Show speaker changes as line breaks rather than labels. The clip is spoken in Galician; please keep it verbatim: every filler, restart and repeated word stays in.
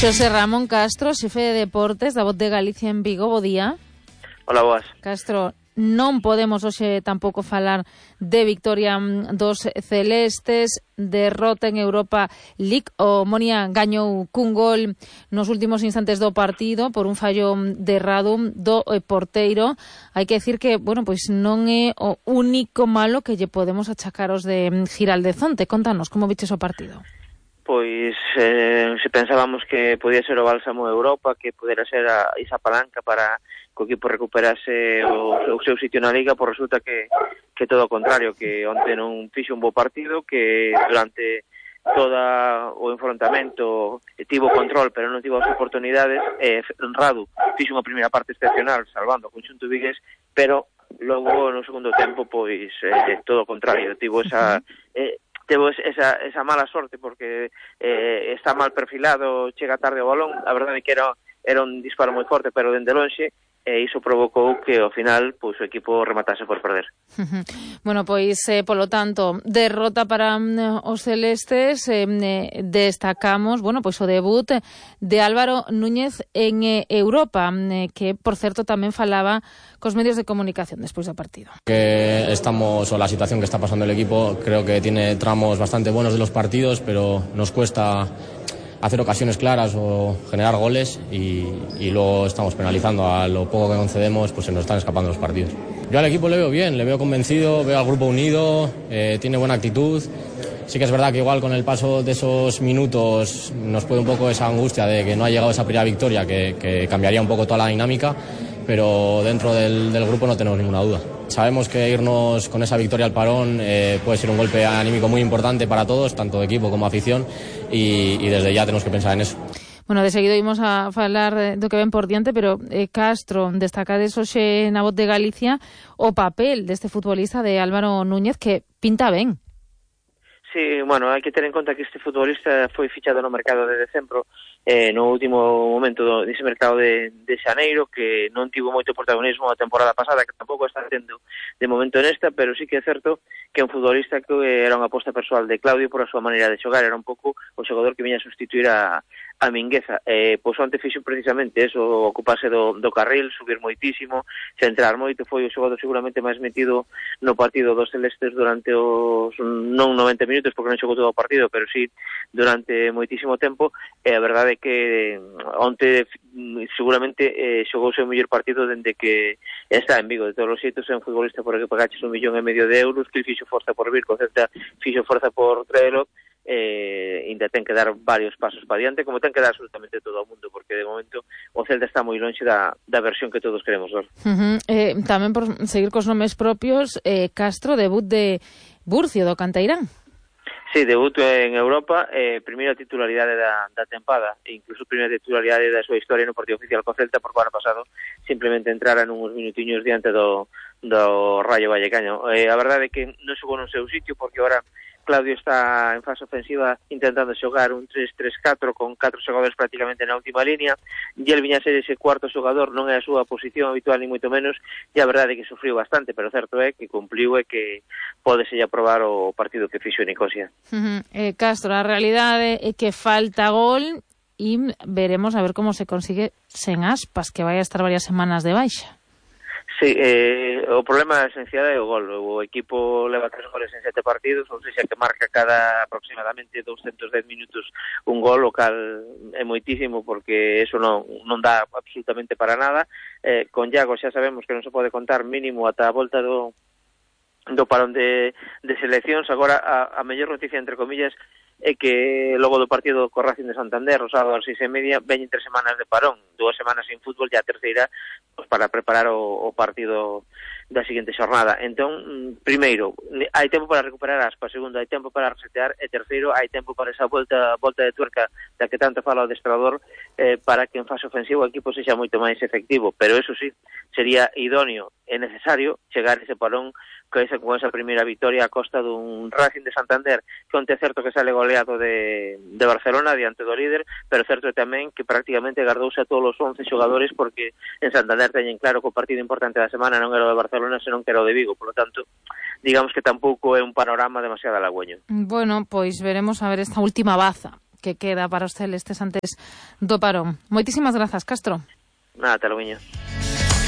Xosé Ramón Castro, xefe de deportes da Voz de Galicia en Vigo, bo día.
Hola, boas.
Castro, non podemos hoxe tampouco falar de victoria dos celestes, derrota en Europa League. O Monia gañou cun gol nos últimos instantes do partido por un fallo de Radu do porteiro. Hai que decir que, bueno, pois non é o único malo que lle podemos achacar os de Giraldezonte. Contanos, como viches o partido?
Pois eh, se pensábamos que podía ser o bálsamo de Europa, que pudera ser a, esa palanca para que o equipo recuperase o, o seu sitio na Liga, por resulta que, que todo o contrario, que onte non fixo un bo partido, que durante todo o enfrontamento tivo control, pero non tivo as oportunidades. eh, Radu fixo unha primeira parte excepcional, salvando o conxunto vigués, pero logo no segundo tempo, pois eh, todo o contrario, tivo esa... Eh, Tevo esa, esa mala sorte porque eh, está mal perfilado, chega tarde o balón. A verdade é que era, era un disparo moi forte, pero dende lonxe, e iso provocou que ao final pois, o equipo rematase por perder.
Bueno, pois, eh, polo tanto, derrota para um, os celestes. eh, destacamos, bueno, pois o debut de Álvaro Núñez en eh, Europa, eh, que, por certo, tamén falaba cos medios de comunicación despois do partido.
Que estamos, o la situación que está pasando el equipo, creo que tiene tramos bastante buenos de los partidos, pero nos cuesta hacer ocasiones claras o generar goles y, y luego estamos penalizando. A lo poco que concedemos, pues se nos están escapando los partidos. Yo al equipo le veo bien, le veo convencido, veo al grupo unido, eh, tiene buena actitud. Sí que es verdad que igual con el paso de esos minutos nos puede un poco esa angustia de que no ha llegado esa primera victoria, que, que cambiaría un poco toda la dinámica, pero dentro del, del grupo no tenemos ninguna duda. Sabemos que irnos con esa victoria al parón eh, puede ser un golpe anímico muy importante para todos, tanto de equipo como afición, y, y desde ya tenemos que pensar en eso.
Bueno, de seguido imos a falar do que ven por diante, pero eh, Castro, destacades hoxe na Voz de Galicia o papel deste futbolista de Álvaro Núñez, que pinta ben.
Sí, bueno, hai que ter en conta que este futbolista foi fichado no mercado de decembro, eh, no último momento do, dese mercado de, de xaneiro, que non tivo moito protagonismo a temporada pasada, que tampouco está tendo de momento nesta, pero sí que é certo que é un futbolista que era unha aposta persoal de Claudio por a súa maneira de xogar, era un pouco o xogador que viña a sustituir a a Mingueza. Eh, pois onte fixo precisamente eso, ocuparse do, do carril, subir moitísimo, centrar moito, foi o xogador seguramente máis metido no partido dos celestes durante os non noventa minutos, porque non xogou todo o partido, pero sí durante moitísimo tempo. E a verdade é que onte seguramente eh, xogou o seu mellor partido dende que está en Vigo. De todos os xeitos é un futbolista por que pagaches un millón e medio de euros, que fixo forza por vir, co Celta fixo forza por traelo. Eh, ainda ten que dar varios pasos para diante, como ten que dar absolutamente todo o mundo, porque de momento o Celta está moi lonxe da, da versión que todos queremos ver.
Uh-huh. eh, tamén por seguir cos nomes propios, eh, Castro, debut de Burcio do Canteirán.
Sí, debut en Europa, eh, primeira titularidade da, da tempada, e incluso primeira titularidade da súa historia no partido oficial co Celta, porque o ano pasado simplemente entrara nuns minutiños diante do, do Rayo Vallecano. Eh, a verdade é que non xogou no seu sitio, porque agora Claudio está en fase ofensiva intentando xogar un tres tres catro con catro xogadores prácticamente na última línea, e el viña a ser ese cuarto xogador, non é a súa posición habitual ni moito menos, e a verdade é que sufriu bastante, pero certo é que cumpliu e que pode ser aprobar o partido que fixo en Nicosia.
Uh-huh. eh, Castro, a realidade é que falta gol e veremos a ver como se consigue sen Aspas, que vai a estar varias semanas de baixa.
Sí, eh, o problema esencial é o gol. O equipo leva tres goles en sete partidos, ou seja, que marca cada aproximadamente doscientos dez minutos un gol, o cal é moitísimo, porque eso non, non dá absolutamente para nada. Eh, con Iago xa sabemos que non se pode contar mínimo ata a volta do, do parón de, de seleccións. Agora, a, a mellor noticia, entre comillas, é que logo do partido co Racing de Santander, o sábado ás seis e media, veñen tres semanas de parón, dúas semanas sin fútbol, e a terceira pues, para preparar o, o partido da seguinte xornada. Entón, primeiro, hai tempo para recuperar Aspas, segundo, hai tempo para resetear, e terceiro, hai tempo para esa volta volta de tuerca da que tanto fala o adestrador, eh, para que en fase ofensiva o equipo sexa moito máis efectivo, pero eso sí, sería idóneo e necesario chegar ese parón con esa, con esa primeira victoria a costa dun Racing de Santander, que onte é certo que sale goleado de, de Barcelona diante do líder, pero certo é tamén que prácticamente gardouse a todos os once xogadores, porque en Santander teñen claro que o partido importante da semana non era o de Barcelona, senón que era o de Vigo, por lo tanto, digamos que tampouco é un panorama demasiado halagüeño.
Bueno, pois veremos a ver esta última baza que queda para os celestes antes do parón. Moitísimas grazas, Castro.
Nada, te lo viño.